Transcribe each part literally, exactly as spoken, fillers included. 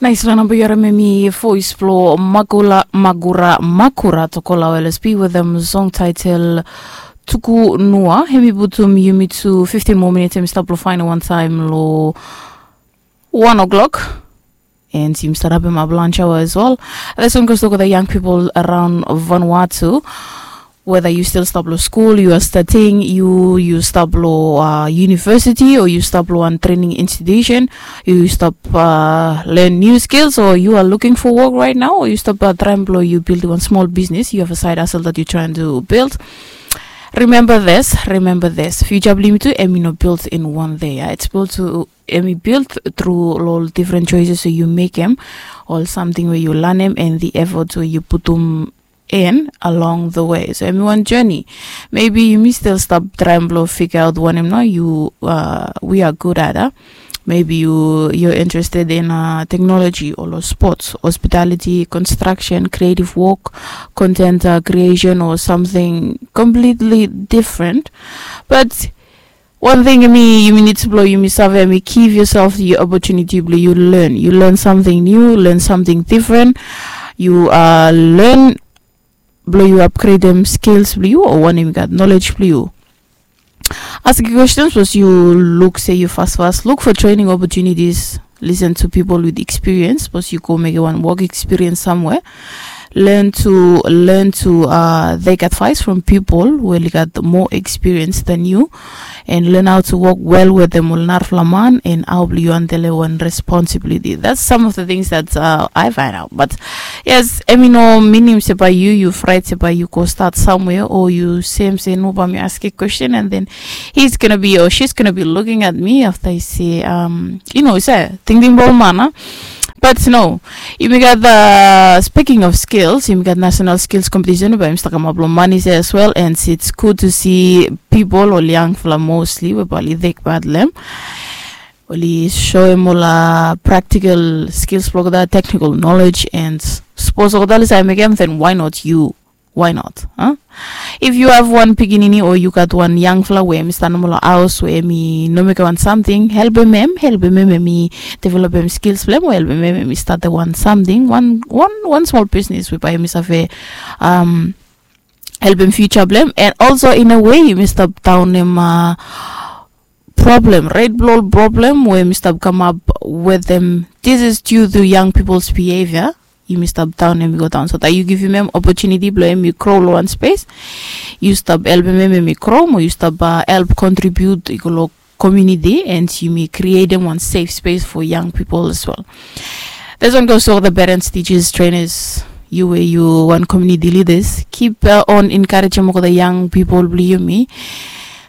Naisfala namba yu harim, hemi voes blong Magura Magura Magura Tokola o L S P wetem song taetel Tuku Nua. Hemi putum yumi tu fiftin moa minits, hemi stap blong faenem wantaem long wan o'clock. And yumi stap hapem ap lunch hour as well. This one goes to the young people around Vanuatu. Whether yu stil stap long skul, yu are studying, yu yu stap long uh, university, o yu stap long wan training institution, yu stap uh, learn new skills, or you are looking for work right now, or yu stap uh, traem blong yu build wan small business, you have a side hustle that you trying to build. Remember this, remember this. Future blong yumi tu, hemi no build in one day. Yeah? It's built to hemi build through ol different choices we yu mekem, ol samting we yu lanem, and the effort we yu putum in along the way. So hemi wan journey. Maybe yumi stil stap traem blong figure out wanem nao yu uh, we are good at. Uh. Maybe you you're interested in uh, technology or sports, hospitality, construction, creative work, content uh, creation, or something completely different. But wan ting yumi yumi nid blong yumi save, yumi give yourself the opportunity blong yu learn, yu learn something new, learn something different. Yu uh, learn blong yu upgradem skills blong yu, o wanem yu gat knowledge blong yu. Asking questions was yu look say yu fast fast look for training opportunities, listen to people with experience, was yu go make wan work experience somewhere. Learn to learn to uh, take advice from people who really got more experience than you, and learn how to work well with them ol narafala man, and how blong yu handle wan responsibility. That's some of the things that uh, I find out. But yes, I mean, no minim se by you, you fright se by you go start somewhere, or you same say no, but me ask a question, and then he's gonna be or she's gonna be looking at me after I say, um, you know, say, thinking about mana. But no, yumi gat the speaking of skills, yumi gat national skills competition, but yumi staka mablo money as well, and it's good to see people or young fella mostly we bali take part lem. Oli show him all uh, practical skills blok the technical knowledge and suppose all that is I make him, then why not you? Why not? Huh? If you have one pikinini or you got one young fella where mi stand all house where mi no make one something, help him him, help him him, mi develop him skills blem, help him him, mi start the one something, one one one small business we buy him is a um help him future blem, and also in a way you must stop down him uh, problem, red blow problem where you must stop come up with them. This is due to young people's behavior. You must stop down and go down. So that you give him an opportunity, blow him, you crawl one space. You stop help him, him, him, crawl, or you stop uh, help contribute, you go community, and you may create them one safe space for young people as well. This one goes to all the parents, teachers, trainers, you where you one community leaders. Keep uh, on encouraging the young people, believe me.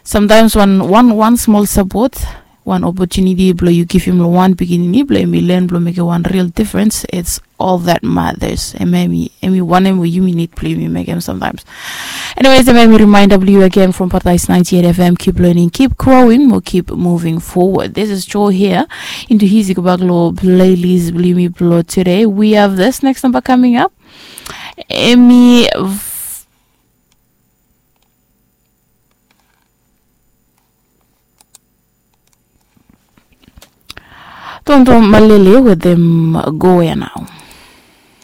Sometimes one one one small support, one opportunity, blow you give him one beginning, blow me learn, blow make one real difference. It's all that matters. And maybe and we want him where you need play me make him sometimes. Anyways, let me remind W again from Paradise ninety-eight F M. Keep learning, keep growing, we'll keep moving forward. This is Joe here into his Ikubaglo playlist, Blimi Blo today. We have this next number coming up. Emi Tonto Malele with them go where now.